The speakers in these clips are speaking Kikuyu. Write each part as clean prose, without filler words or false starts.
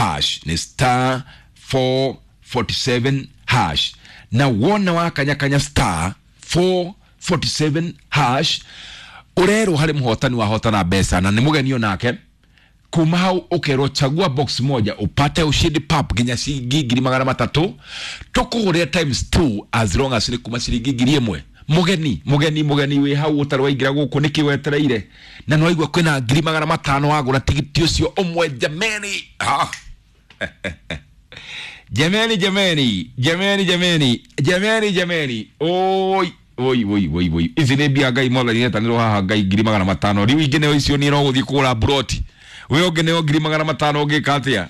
hash, nĩ star 447 hash. Na wona wakanyakanya star 447 hash, ũrerwo harĩ mũhotani wahotana mbeca na nĩ mũgenio nake. Kuma hau ũkerwo chagua box moja upate ushindi pap nginya ciringi 300,000, tũkũgũrĩre times 2 as long as nĩ kuma ciringi 1,000. Mũgeni, mũgeni, mũgeni wĩ hau ũtarĩ waingĩra gũkũ, nĩkĩ wetereire? Na nĩ waigua kwĩna 500,000 wagũra tigiti ũcio ũmwe. Jameni, ah. Jameni, jameni, jameni, jameni, jameni, jameni, oi oi oi oi oi, ici nĩ mbia Ngai mwathani netanĩrwo haha. Ngai, 500,000 rĩu ingĩ nĩo icio, niĩ no gũthiĩ kũgũra mburoti. We ũngĩ nĩo 500,000 ũngĩka atĩa?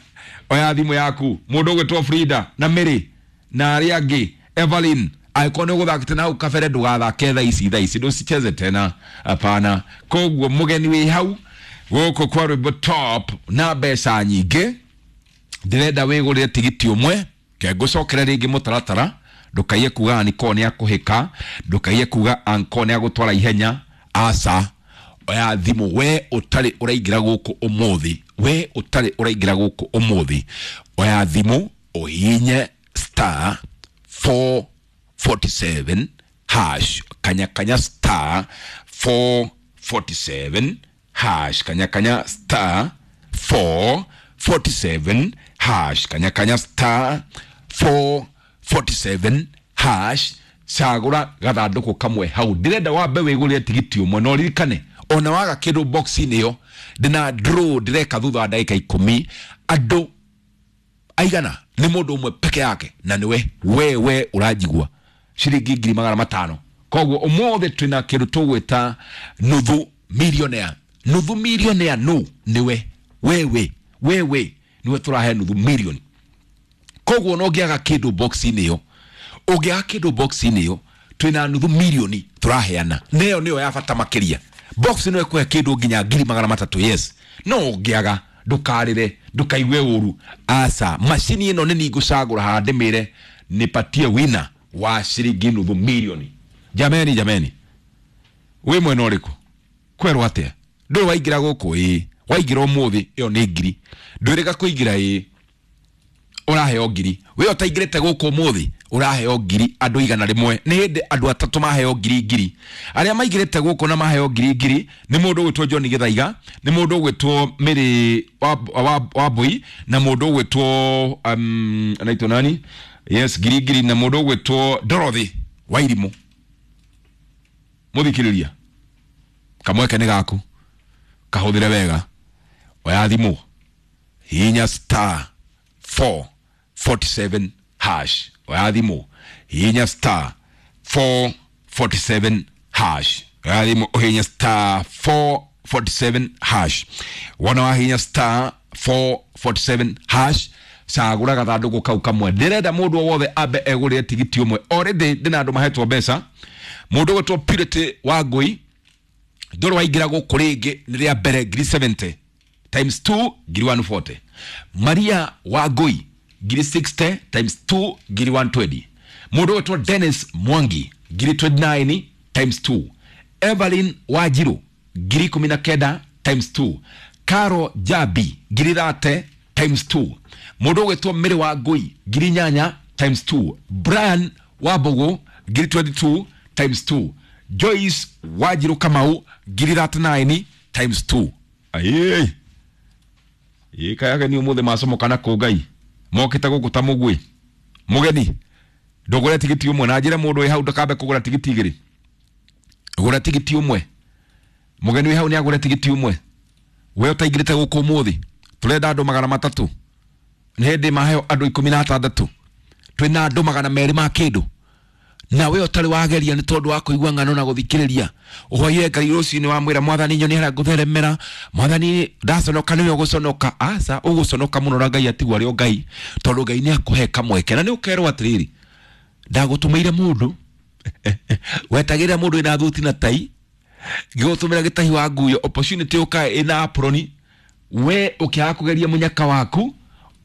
Oya thimũ yaku, mũndũ ũgwĩtwo Frida na Mary na arĩa angĩ, Evelyn, angĩkorwo nĩ ũgũthakĩte na hau kabere, ndũgathake thaa ici, thaa ici ndũcicheze tena, hapana. Koguo mũgeni wĩ hau gũkũ kwa rwĩmbo top na mbeca nyingĩ, ndĩrenda wĩgũrĩre tigiti ũmwe. Ke ngũcokere rĩngĩ mũtaratara, ndũkaiye kuga aniko nĩ akũhĩka, ndũkaiye kuga anko nĩ agũtwara ihenya. Aca, oya thimũ, we ũtarĩ ũraingĩra gũkũ ũmũthĩ, we ũtarĩ ũraingĩra gũkũ ũmũthĩ, oya thimũ ũhihinye star 447 hash, kanya kanya star 447 hash, kanya kanya star 447 hash, kanya kanya star 447 hash, cagũra gathandũkũ kamwe hau. Ndĩrenda wambe wĩgũrĩre tigiti ũmwe, na ũririkane ona waga kĩndũ box-inĩ ĩyo, ndĩna draw ndĩreka thutha wa ndagĩka 10. Andũ aigana? Nĩ mũndũ ũmwe peke yake, na nĩwe we we ũranjigua, ciringi 500,000. Koguo ũmũthĩ twĩna kĩndũ tũgwĩta nuthu millionaire. Nuthu millionaire no nĩwe wewe, wewe nĩwe tũrahe nuthu million. Koguo no ũngĩaga kĩndũ box-inĩ ĩyo, ũngĩaga kĩndũ box-inĩ ĩyo, twĩna nuthu milioni tũraheana, na ĩyo nĩyo ya bata makĩria. Box ĩno ĩkũhe kĩndũ nginya 300,000, yes. No ũngĩaga, ndũkarĩre, ndũkaigue ũru, aca. Macini ĩno nĩ ningũcagũra haha ndĩmĩre nipatie wina wa ciringi nuthu milioni. Jameni, jameni, wĩ mwena ũrĩkũ? Kwerwo atĩa? Ndũrĩ waingĩra gũkũ? Ĩĩ, waingĩra ũmũthĩ, ĩyo nĩ ngiri. Ndwĩrĩga kũingĩra? Ĩĩ, ũraheo ngiri. We ũtaingĩrĩte gũkũ ũmũthĩ, ũraheo ngiri. Andũ 100, nĩ hĩndĩ andũ atatũ maheo ngiri ngiri. Arĩa maingĩrĩte gũkũ na maheo ngiri ngiri nĩ mũndũ ũgwĩtwo John Gĩthaiga, nĩ mũndũ ũgwĩtwo Mary Wambui, na mũndũ ũgwĩtwo anaitwo nani? Yes, ngiri ngiri, na mũndũ ũgwĩtwo Dorothy Wairimũ. Mũthikĩrĩria, kamweke nĩ gaku, kahũthĩre wega. Oya thimũ, hihinya star 447 hash. Oya thimũ, hihinya star 447 hash. Oya thimũ, ũhihinye star 447 hash. Wona wahihinya star 447 hash, cagũra gathandũkũ kau kamwe. Ndĩrenda mũndũ o wothe ambe egũrĩre tigiti ũmwe. Already ndĩna andũ mahetwo mbeca. Mũndũ ũgwĩtwo Purity wa Ngũi, ndũrĩ waingĩra gũkũ rĩngĩ, nĩ rĩa mbere, ngiri 70 times 2, ngiri 140. Maria wa Ngũi, ngiri 60 times 2, ngiri 120. Mũndũ ũgwĩtwo Dennis Mwangi, ngiri 29 times 2. Evelyn Wanjiru, ngiri 19 times 2. Caro Jabi, ngiri 30 times 2. Mũndũ ũgwĩtwo Mary wa Ngũi, ngiri 8 times 2. Brian wa Mbũgũ, ngiri 22 times 2. Joyce Wanjiru Kamau, ngiri 39 times 2. Aye, ĩ kayage ni ũmũthĩ macomoka na kũ Ngai mokĩte gũkũ ta mũguĩ. Mũgeni, ndũgũre tigiti ũmwe, na njĩre mũndũ wĩ hau ndakambe kũgũra tigiti igĩrĩ, gũra tigiti ũmwe. Mũgeni wĩ hau nĩ agũre tigiti ũmwe. We ũtaingĩrĩte gũkũ ũmũthĩ, tũrenda andũ 300, nĩ hĩndĩ maheo andũ 16, twĩna andũ 200 ma kĩndũ. Na we ũtarĩ wageria nĩ tondũ wa kũigua ng'ano na gũthikĩrĩria, ũhoire Ngai rũcinĩ, wamwĩra, "Mwathani, nyonia harĩa ngũtheremera. Mwathani, ndaconoka nĩwe ũgũconoka." Aca, ũgũconoka mũno na Ngai atigwo arĩ o Ngai, tondũ Ngai nĩ akũhe kamweke na nĩ ũkerwo atĩrĩrĩ, "Ndagũtũmĩire mũndũ, wetagĩrĩra mũndũ wĩna thuti na tai, ngĩgũtũmĩra gĩtahi wa nguyo, opportunity ũka ĩna aproni, we ũkĩaga kũgeria mũnyaka waku,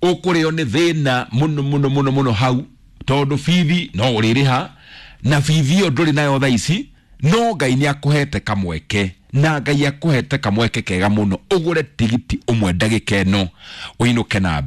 ũkũrĩo nĩ thĩna mũno mũno mũno mũno hau, tondũ bithi no ũrĩrĩha na bithi ĩyo ndũrĩ nayo thaa ici." No Ngai nĩ akũhete kamweke, na Ngai akũhete kamweke kega mũno, ũgũre tigiti ũmwe ndagĩka ĩno, ũinũke na mbia.